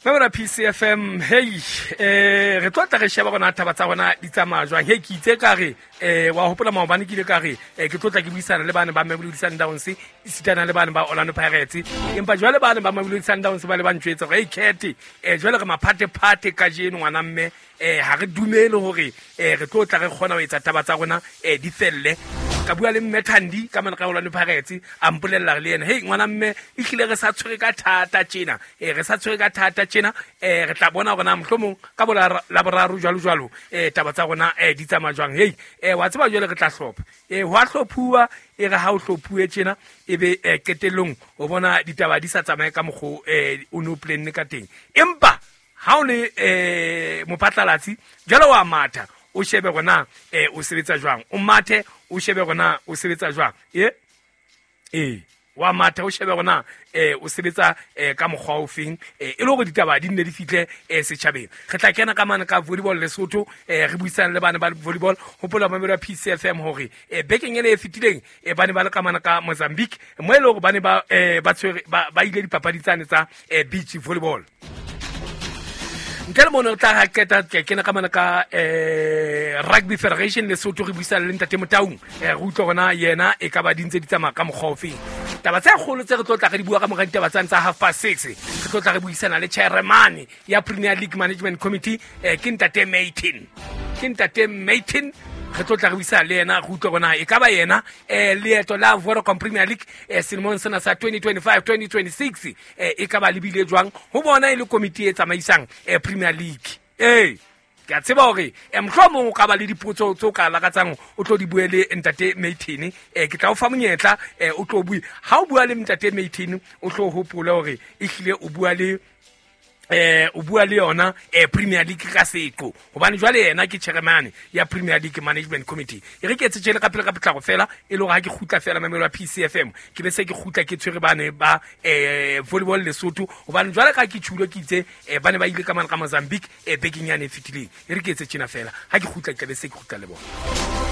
Mamela PCFM, hey, re tlo tla re sheba gona taba tsa rona di tsamaya jwang. Hey, ke itse ka re, wa hopola maobane ke ile ka re, ke tlo tla ke buisana le bane ba Mamelodi Sundowns, esitana le bane ba Orlando Pirates. Empa jwale bane ba Mamelodi Sundowns ba le ba ntjwetsa hore, hey, Cat, jwale re maphatephate kajeno ngwana mme, ha re dumele hore, re tlo tla re kgona ho etsa taba tsa rona, di felle. Ka bua le mme Thandi ka mane ka Orlando Pirates, a mpolella le yena, hey, ngwana mme, ehlile re sa tshwere ka thata tjena. Re sa tshwere ka thata tjena, re tla bona hore na mohlomong ka bo la boraro jwalo jwalo, taba tsa rona, di tsamaya jwang. Hey, wa tseba jwale re tla hlopha. Ho a hlophuwa, e re ha o hlophuwe tjena, e be, qetellong o bona ditaba di sa tsamaye ka mokgo, o no planne ka teng. Empa ha o le, mophatlalatsi, jwale wa matha, o shebe hore na, o sebetsa jwang. O mathe, o shebe hore na o sebetsa jwang. Wa matha, o shebe hore na, o sebetsa, ka mokgwa o feng, e le hore ditaba di nne di fihle, setjhabeng. Re tla kena ka mane ka volleyball Lesotho, re buisana le bana ba volleyball. Hopola mamelo ya PCFM hore, bekeng ena e fetileng, ba ne ba le ka mane ka Mozambique, mo e le hore ba ne ba, ba tshwere, ba ile dipapadi tsane tsa, beach volleyball. Ntle le mono re tla ha qeta ke kena ka mane ka, Rugby Federation Lesotho, re buisana le Ntate Motaung, re utlwe hore na yena e ka ba di ntse di tsamaya ka mokgwa ofeng. Taba tse kgolo tse re tlo tla re di bua ka mora ditaba tsane tsa half past six, re tlo tla re buisana le chairman ya Premier League Management Committee, ke Ntate Maytin. Ke Ntate Maytin, re tlo tla re buisana le yena, re utlwe hore na e ka ba yena, leeto la Vodacom Premier League, selemong sena sa 2025-2026, e ka ba lebile jwang ho bona e le komiti e tsamaisang, Premier League. Ke a tseba hore, mohlomong o ka ba le dipotso tse o ka lakatsang o tlo di bue le Ntate Maytin. Ke tla o fa monyetla, o tlo bue. Ha o bua le Ntate Maytin, o tlo hopole hore ehlile o bua le, o bua le yona, Premier League ka seqo, hobane jwale yena ke chairman ya Premier League Management Committee. E re ke etse tjele ka pele ka potlako fela, e le hore ha ke kgutla fela mamelo ya PCFM, ke be se ke kgutla ke tshwere bane ba, volleyball Lesotho, hobane jwale ka ke tjhulo ke itse, ba ne ba ile ka mane ka Mozambique, bekeng yane e fetileng. E re ke etse tjena fela, ha ke kgutla ke tla be se ke kgutla le bona.